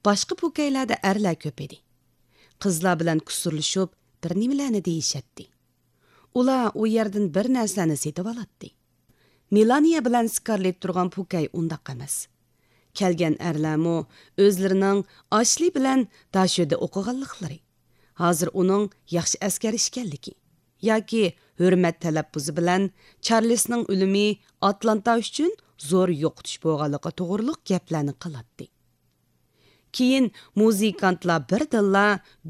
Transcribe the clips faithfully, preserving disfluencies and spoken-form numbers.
باشقا پوكەيلەردە ئەرلەر كۆپ ئىدى. قىزلار بىلەن كۇسۇرلىشىپ، بىر نېمىلەرنى دېيىشەتتى. ئۇلار ئۇ يەردىن بىر نەرسىلەرنى سېتىۋالاتتى. مېلانىيە بىلەن سكارلېت تۇرغان پوكەي ئۇنداق ئەمەس. كەلگەن ئەرلەرمۇ ئۆزلىرىنىڭ ئاشلى بىلەن داشۆدە ئوقۇغانلىقلىرى، ھازىر ئۇنىڭ ياخشى ئەسكەر ئىكەنلىكى ياكى ھۆرمەت تەلەپپۇزى بىلەن چارلىسنىڭ ئۆلۈمى ئاتلانتا ئۈچۈن زور يوقىتىش بولغانلىقى توغرۇلۇق گەپلەرنى قىلاتتى. كېيىن مۇزىكانتلار بىردىنلا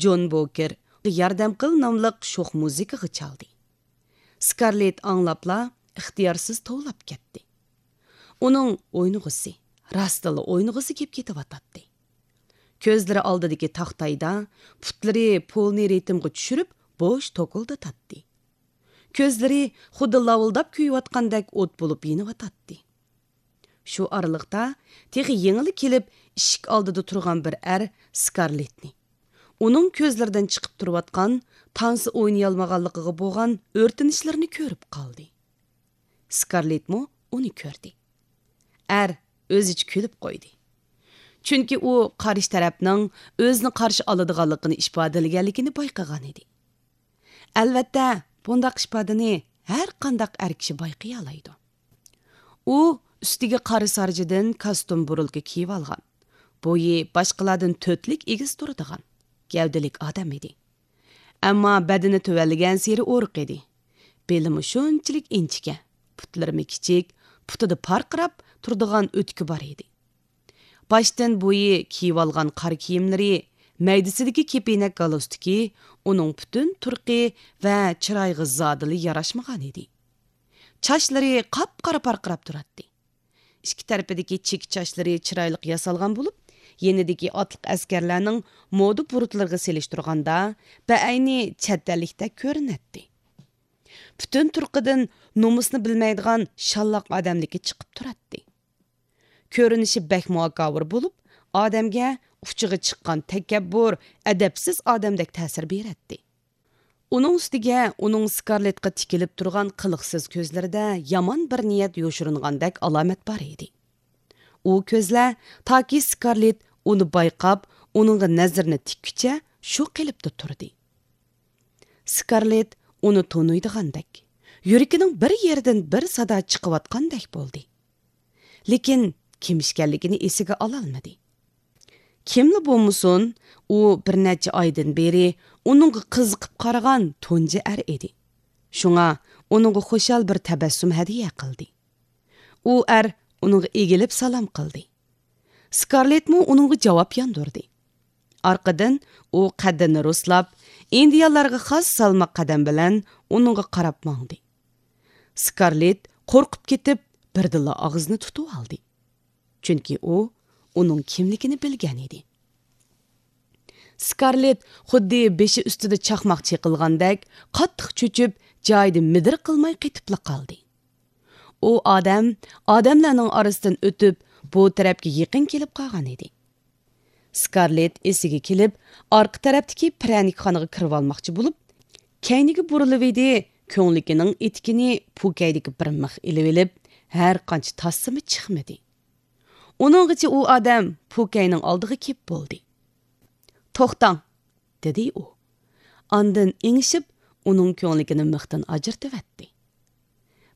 جون بوكېر ياردەم قىل ناملىق شوخ مۇزىكىغا چالدى. سكارلېت ئاڭلاپلا ئىختىيارسىز توۋلاپ كەتتى. ئۇنىڭ ئوينىغۇسى، راستتىنلا ئوينىغۇسى كېلىپ كېتىۋاتاتتى. كۆزلىرى ئالدىدىكى تاختايدا، پۇتلىرى پولنى رىتىمغا چۈشۈرۈپ، بوش توكۇلدىتاتتى. كۆزلىرى خۇددى لاۋۇلداپ كۆيۈۋاتقاندەك ئوت بولۇپ يېنىۋاتاتتى. شۇ ئارىلىقتا تېخى يېڭىلا كېلىپ ئىشىك ئالدىدا تۇرغان بىر ئەر سكارلېتنى، ئۇنىڭ كۆزلىرىدىن چىقىپ تۇرۇۋاتقان تانسا ئوينىيالمىغانلىقىغا بولغان ئۆرتىنىشلىرىنى كۆرۈپ قالدى. سكارلېتمۇ ئۇنى كۆردى. ئەر ئۆزىچە كۈلۈپ قويدى. چۈنكى ئۇ قارشى تەرەپنىڭ ئۆزىنى قارشى ئالىدىغانلىقىنى ئىپادىلىگەنلىكىنى بايقىغان ئىدى. ئەلۋەتتە، بۇنداق ئىپادىنى ھەر قانداق ئەر كىشى بايقىيالايدۇ. ئۇ ئۈستىگە قارا سارجىدىن كاستۇم بۇرۇلكا كىيىۋالغان، بويى باشقىلاردىن تۆتلۈك ئېگىز تۇرىدىغان، گەۋدىلىك ئادەم ئىدى. ئەمما بەدىنى تۆۋەنلىگەنسېرى ئورۇق ئىدى. بېلىمۇ شۇنچىلىك ئىنچىكە، پۇتلىرىمۇ كىچىك، پۇتىدا پارقىراپ تۇرىدىغان ئۆتۈكى بار ئىدى. باشتىن بويى كىيىۋالغان قارا كىيىملىرى، مەيدىسىدىكى كېپىنەك گالستۇكى ئۇنىڭ پۈتۈن تۇرقى ۋە چىرايىغا زادىلا ياراشمىغان ئىدى. چاچلىرى قاپقارا پارقىراپ تۇراتتى. ئىككى تەرىپىدىكى چېكە چاچلىرى چىرايلىق ياسالغان بولۇپ، يېنىدىكى ئاتلىق ئەسكەرلەرنىڭ مودا بۇرۇتلىرىغا سېلىشتۇرغاندا، بەئەينى چەت ئەللىكتەك كۆرۈنەتتى. پۈتۈن تۇرقىدىن نومۇسنى بىلمەيدىغان شاللاق ئادەملىكى چىقىپ تۇراتتى. كۆرۈنۈشى بەكمۇ ھاكاۋۇر بولۇپ، ئادەمگە ئۇچىغا چىققان تەكەببۇر، ئەدەپسىز ئادەمدەك تەسىر بېرەتتى. ئۇنىڭ ئۈستىگە ئۇنىڭ سكارلېتقا تىكىلىپ تۇرغان قىلىقسىز كۆزلىرىدە يامان بىر نىيەت يوشۇرۇنغاندەك ئالامەت بار ئىدى. ئۇ كۆزلەر تاكى سكارلېت ئۇنى بايقاپ، ئۇنىڭغا نەزىرىنى تىككۈچە شۇ قېلىپتا تۇردى. سكارلېت ئۇنى تونۇيدىغاندەك، يۈرىكىنىڭ بىر يېرىدىن بىر سادا چىقىۋاتقاندەك بولدى. لېكىن كىم ئىكەنلىكىنى ئېسىگە ئالالمىدى. كىملا بولمىسۇن، ئۇ بىر نەچچە ئايدىن بېرى ئۇنىڭغا قىزىقىپ قارىغان تۇنجى ئەر ئىدى. شۇڭا ئۇنىڭغا خۇشال بىر تەبەسسۇم ھەدىيە قىلدى. ئۇ ئەر ئۇنىڭغا ئېگىلىپ سالام قىلدى. سكارلېتمۇ ئۇنىڭغا جاۋاب ياندۇردى. ئارقىدىن ئۇ قەددىنى رۇسلاپ، ئىندىيانلارغا خاس سالماق قەدەم بىلەن ئۇنىڭغا قاراپ ماڭدى. سكارلېت قورقۇپ كېتىپ، بىردىنلا ئاغزىنى تۇتۇۋالدى. چۈنكى ئۇ ئۇنىڭ كىملىكىنى بىلگەن ئىدى. سكارلېت خۇددى بېشى ئۈستىدە چاقماق چېقىلغاندەك قاتتىق چۆچۈپ، جايىدا مىدىر قىلماي قېتىپلا قالدى. ئۇ ئادەم ئادەملەرنىڭ ئارىسىدىن ئۆتۈپ، بۇ تەرەپكە يېقىن كېلىپ قالغان ئىدى. سكارلېت ئېسىگە كېلىپ، ئارقا تەرەپتىكى پىرەنىكخانىغا كىرىۋالماقچى بولۇپ، كەينىگە بۇرۇلۇۋىدى، كۆڭلىكىنىڭ ئېتىكىنى پوكەيدىكى بىر مىخ ئېلىۋېلىپ، ھەر قانچە تاسسىمۇ چىقمىدى. ئۇنىڭغىچە ئۇ ئادەم پوكەينىڭ ئالدىغا كېلىپ بولدى. «توختاڭ!» دېدى ئۇ. ئاندىن ئېڭىشىپ، ئۇنىڭ كۆڭلىكىنى مىختىن ئاجرىتىۋەتتى.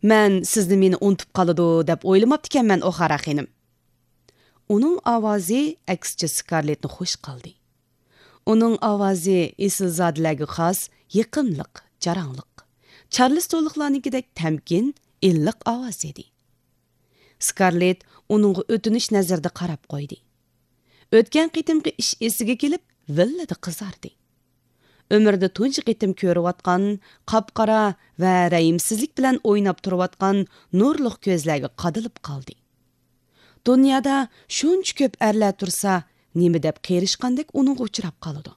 «مەن سىزنى مېنى ئۇنتۇپ قالىدۇ دەپ ئويلىماپتىكەنمەن، ئوخارا خېنىم.» ئۇنىڭ ئاۋازى ئەكسىچە سكارلېتنى خۇش قىلدى. ئۇنىڭ ئاۋازى ئېسىلزادىلەرگە خاس يېقىملىق، جاراڭلىق، چارلىستونلۇقلارنىڭكىدەك تەمكىن، ئىللىق ئاۋاز ئىدى. سكارلېت ئۇنىڭغا ئۆتۈنۈش نەزىرىدە قاراپ قويدى. ئۆتكەن قېتىمقى ئىش ئېسىگە كېلىپ، ۋىللىدە قىزاردى. ئۆمرىدە تۇنجى قېتىم كۆرۈۋاتقان قاپقارا ۋە رەھىمسىزلىك بىلەن ئويناپ تۇرۇۋاتقان نۇرلۇق كۆزلەرگە قادىلىپ قالدى. دۇنيادا شۇنچە كۆپ ئەرلەر تۇرسا، نېمە دەپ قېرىشقاندەك ئۇنىڭغا ئۇچراپ قالىدۇ.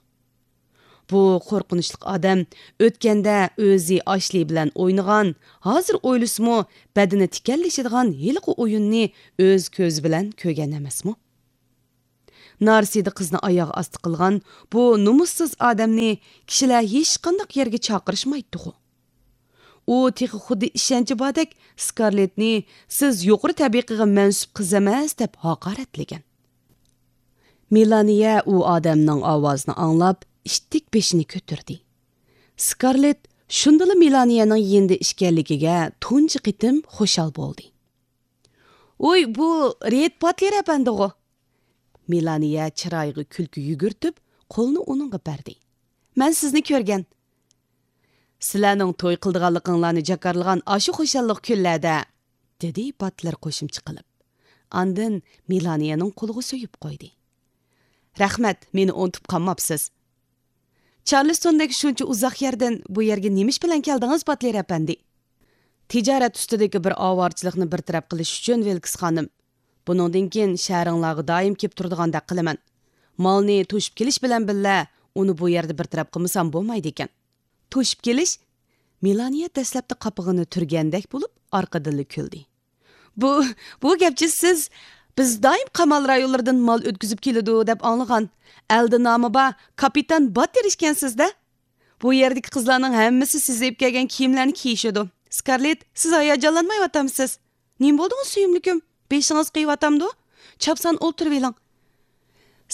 بۇ قورقۇنچلۇق ئادەم ئۆتكەندە ئۆزى ئاشلى بىلەن ئوينىغان، ھازىر ئويلىسىمۇ بەدىنى تىكەنلىشىدىغان ھېلىقى ئويۇننى ئۆز كۆزى بىلەن كۆرگەن ئەمەسمۇ؟ نارسىدە قىزنى ئاياغ ئاستى قىلغان بۇ نومۇسسىز ئادەمنى كىشىلەر ھېچقانداق يەرگە چاقىرىشمايتتىغۇ؟ ئۇ تېخى خۇددى ئىشەنچى باردەك سكارلېتنى «سىز يۇقىرى تەبىقىگە مەنسۇپ قىز ئەمەس» دەپ ھاقارەتلىگەن. مېلانىيە ئۇ ئادەمنىڭ ئاۋازىنى ئاڭلاپ، ئىتتىك بېشىنى كۆتۈردى. سكارلېت شۇندىلا مېلانىيەنىڭ يېنىدا ئىكەنلىكىگە تۇنجى قېتىم خۇشال بولدى. «ۋوي، بۇ رېيد باتلېر ئەپەندىغۇ!» مېلانىيە چىرايىغا كۈلكە يۈگۈرتۈپ، قولىنى ئۇنىڭغا بەردى. «مەن سىزنى كۆرگەن.» «سىلەرنىڭ توي قىلىدىغانلىقىڭلارنى جاكارلىغان ئاشۇ خۇشاللىق كۈنلەردە.» دېدى باتلېر قوشۇمچە قىلىپ. ئاندىن مېلانىيەنىڭ قولىغا سۆيۈپ قويدى. «رەھمەت، مېنى ئۇنتۇپ قالماپسىز.» «چارلىستوندەك شۇنچە ئۇزاق يەردىن بۇ يەرگە نېمە ئىش بىلەن كەلدىڭىز، باتلېر ئەپەندى؟» «تىجارەت ئۈستىدىكى بىر ئاۋارىچىلىقنى بىر تەرەپ قىلىش ئۈچۈن، ۋىلكس خانىم. بۇنىڭدىن كېيىن شەھىرىڭلارغا دائىم كېلىپ تۇرىدىغاندەك قىلىمەن. مالنى توشۇپ كېلىش بىلەن بىللە، ئۇنى بۇ يەردە بىر تەرەپ قىلمىسام بولمايدىكەن.» «توشۇپ كېلىش؟» مېلانىيە دەسلەپتە قاپىقىنى تۈرگەندەك بولۇپ، ئارقىدىنلا كۈلدى. «بۇ، بۇ گەپچە سىز، بىز دائىم قامال رايونلىرىدىن مال ئۆتكۈزۈپ كېلىدۇ دەپ ئاڭلىغان، ئەلدە نامى بار كاپىتان باتلېر ئىكەنسىز-دە. بۇ يەردىكى قىزلارنىڭ ھەممىسى سىز ئېلىپ كەلگەن كىيىملەرنى كىيىشىدۇ. سكارلېت، سىز ھاياجانلانمايۋاتامسىز؟ نېمە بولدىڭىز، سۆيۈملۈكۈم؟ بېشىڭىز قېيىۋاتامدۇ؟ چاپسان ئولتۇرۇۋېلىڭ.»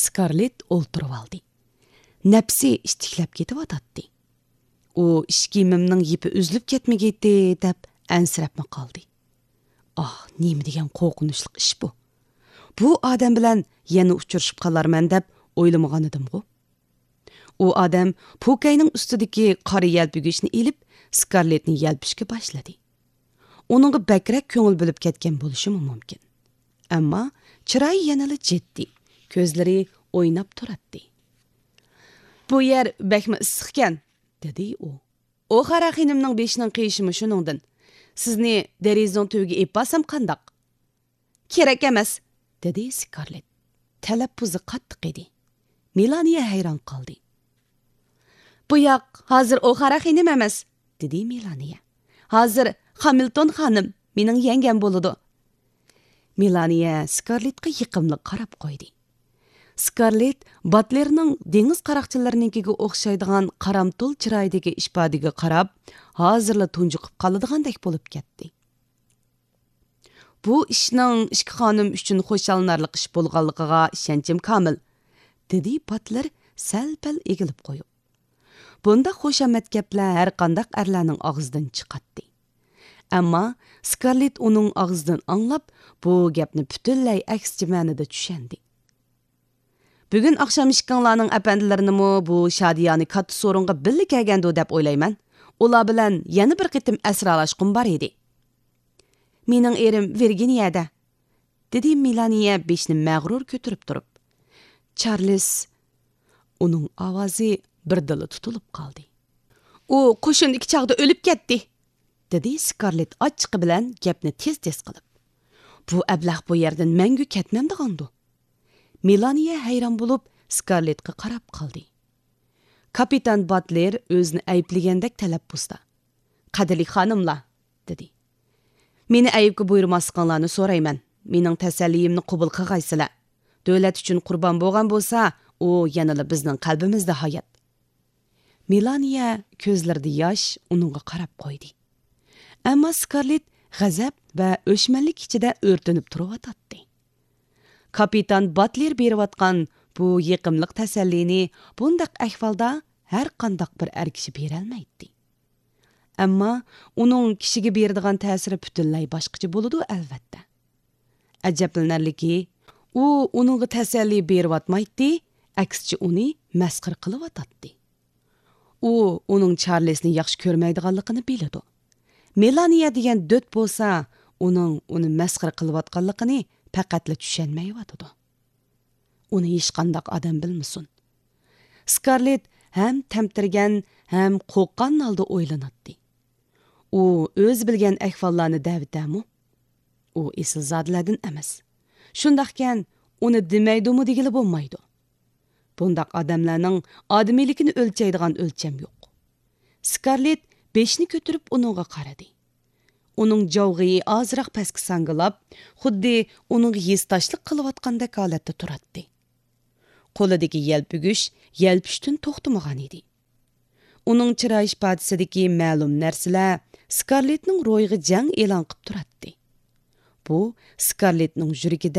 سكارلېت ئولتۇرۇۋالدى. نەپسى ئىتتىكلەپ كېتىۋاتاتتى. ئۇ ئىش كىيىمىمنىڭ يىپى ئۈزۈلۈپ كەتمىگەيتتى دەپ ئەنسىرەپمۇ قالدى. ئاھ، نېمە دېگەن قورقۇنچلۇق ئىش بۇ! بۇ ئادەم بىلەن يەنە ئۇچرىشىپ قالارمەن دەپ ئويلىمىغانىدىمغۇ. ئۇ ئادەم پوكەينىڭ ئۈستىدىكى قارا يەلپۈگۈچنى ئېلىپ، سكارلېتنى يەلپۈشكە باشلىدى. ئۇنىڭغا بەكرەك كۆڭۈل بۆلۈپ كەتكەن بولۇشىمۇ مۇمكىن. ئەمما چىرايى يەنىلا جىددىي، كۆزلىرى ئويناپ تۇراتتى. «بۇ يەر بەكمۇ ئىسسىقكەن»، دېدى ئۇ. «ئوخارا خېنىمنىڭ بېشىنىڭ قېيىشىمۇ شۇنىڭدىن. سىزنى دېرىزىنىڭ تۈۋىگە ئېلىپ بارسام قانداق؟» «كېرەك ئەمەس»، دېدى سكارلېت. تەلەپپۇزى قاتتىق ئىدى. مېلانىيە ھەيران قالدى. «بۇ ياق ھازىر ئوخارا خېنىم ئەمەس»، دېدى مېلانىيە. «ھازىر خامىلتون خانىم، مېنىڭ يەڭگەم بولىدۇ.» مېلانىيە سكارلېتقا يېقىملىق قاراپ قويدى. سكارلېت باتلېرنىڭ دېڭىز قاراقچىلىرىنىڭكىگە ئوخشايدىغان قارامتۇل چىرايىدىكى ئىپادىگە قاراپ، ھازىرلا تۇنجۇقۇپ قالىدىغاندەك بولۇپ كەتتى. «بۇ ئىشنىڭ ئىككى خانىم ئۈچۈن خۇشاللىنارلىق ئىش بولغانلىقىغا ئىشەنچىم كامىل»، دېدى باتلېر سەل-پەل ئېگىلىپ قويۇپ. بۇنداق خۇشامەت گەپلەر ھەرقانداق ئەرلەرنىڭ ئاغزىدىن چىقاتتى. ئەمما سكارلېت ئۇنىڭ ئاغزىدىن ئاڭلاپ، بۇ گەپنى پۈتۈنلەي ئەكسىچە مەنىدە چۈشەندى. «بۈگۈن ئاخشام ئىككىڭلارنىڭ ئەپەندىلىرىنىمۇ بۇ شادىيانە كاتتا سورۇنغا بىللە كەلگەندۇ دەپ ئويلايمەن. ئۇلار بىلەن يەنە بىر قېتىم ئەسرالاشقۇم بار ئىدى.» «مېنىڭ ئېرىم ۋىرگىنىيەدە»، دېدى مېلانىيە بېشىنى مەغرۇر كۆتۈرۈپ تۇرۇپ. «چارلىز.» ئۇنىڭ ئاۋازى بىردىنلا تۇتۇلۇپ قالدى. «ئۇ قوشۇندىكى چاغدا ئۆلۈپ كەتتى»، دېدى سكارلېت ئاچچىقى بىلەن گەپنى تېز-تېز قىلىپ. «بۇ ئەبلەخ بۇ يەردىن مەڭگۈ كەتمەمدىغاندۇ؟» مېلانىيە ھەيران بولۇپ سكارلېتقا قاراپ قالدى. كاپىتان باتلېر ئۆزىنى ئەيىبلىگەندەك تەلەپپۇزدا، «قەدىرلىك خانىملار»، دېدى. «مېنى ئەيىبكە بۇيرۇماسلىقىڭلارنى سورايمەن. مېنىڭ تەسەللىيىمنى قوبۇل قىلغايسىلەر. دۆلەت ئۈچۈن قۇربان بولغان بولسا، ئۇ يەنىلا بىزنىڭ قەلبىمىزدە ھايات.» مېلانىيە كۆزلىرىدە ياش ئۇنىڭغا قاراپ قويدى. ئەمما سكارلېت غەزەپ ۋە ئۆچمەنلىك ئىچىدە ئۆرتىنىپ تۇرۇۋاتاتتى. كاپىتان باتلېر بېرىۋاتقان بۇ يېقىملىق تەسەللىنى بۇنداق ئەھۋالدا ھەر قانداق بىر ئەر كىشى بېرەلمەيتتى. ئەمما ئۇنىڭ كىشىگە بېرىدىغان تەسىرى پۈتۈنلەي باشقىچە بولىدۇ، ئەلۋەتتە. ئەجەبلىنەرلىكى، ئۇ ئۇنىڭغا تەسەللى بېرىۋاتمايتتى، ئەكسىچە ئۇنى مەسخىرە قىلىۋاتاتتى. ئۇ ئۇنىڭ چارلىسنى ياخشى كۆرمەيدىغانلىقىنى بىلىدۇ. مېلانىيە دېگەن دۆت بولسا، ئۇنىڭ ئۇنى مەسخىرە قىلىۋاتقانلىقىنى پەقەتلا چۈشەنمەيۋاتىدۇ. ئۇنى ھېچقانداق ئادەم بىلمىسۇن. سكارلېت ھەم تەمتىرىگەن، ھەم قورققان ھالدا ئويلىناتتى. ئۇ ئۆزى بىلگەن ئەھۋاللارنى دەۋېتەرمۇ؟ ئۇ ئېسىلزادىلەردىن ئەمەس. شۇنداقكەن، ئۇنى دېمەيدۇمۇ دېگىلى بولمايدۇ. بۇنداق ئادەملەرنىڭ ئادىمىيلىكىنى ئۆلچەيدىغان ئۆلچەم يوق. سكارلېت بېشىنى كۆتۈرۈپ ئۇنىڭغا قارىدى. ئۇنىڭ جاۋغىيى ئازراق پەسكە ساڭگىلاپ، خۇددى ئۇنىڭغا ھېسداشلىق قىلىۋاتقاندەك ھالەتتە تۇراتتى. قولىدىكى يەلپۈگۈچ يەلپۈشتىن توختىمىغان ئىدى. ئۇنىڭ چىراي ئىپادىسىدىكى مەلۇم نەرسىلەر سكارلېتنىڭ روھىغا جەڭ ئېلان قىپ تۇراتتى. بۇ سكارلېتنىڭ يۈرىكىدە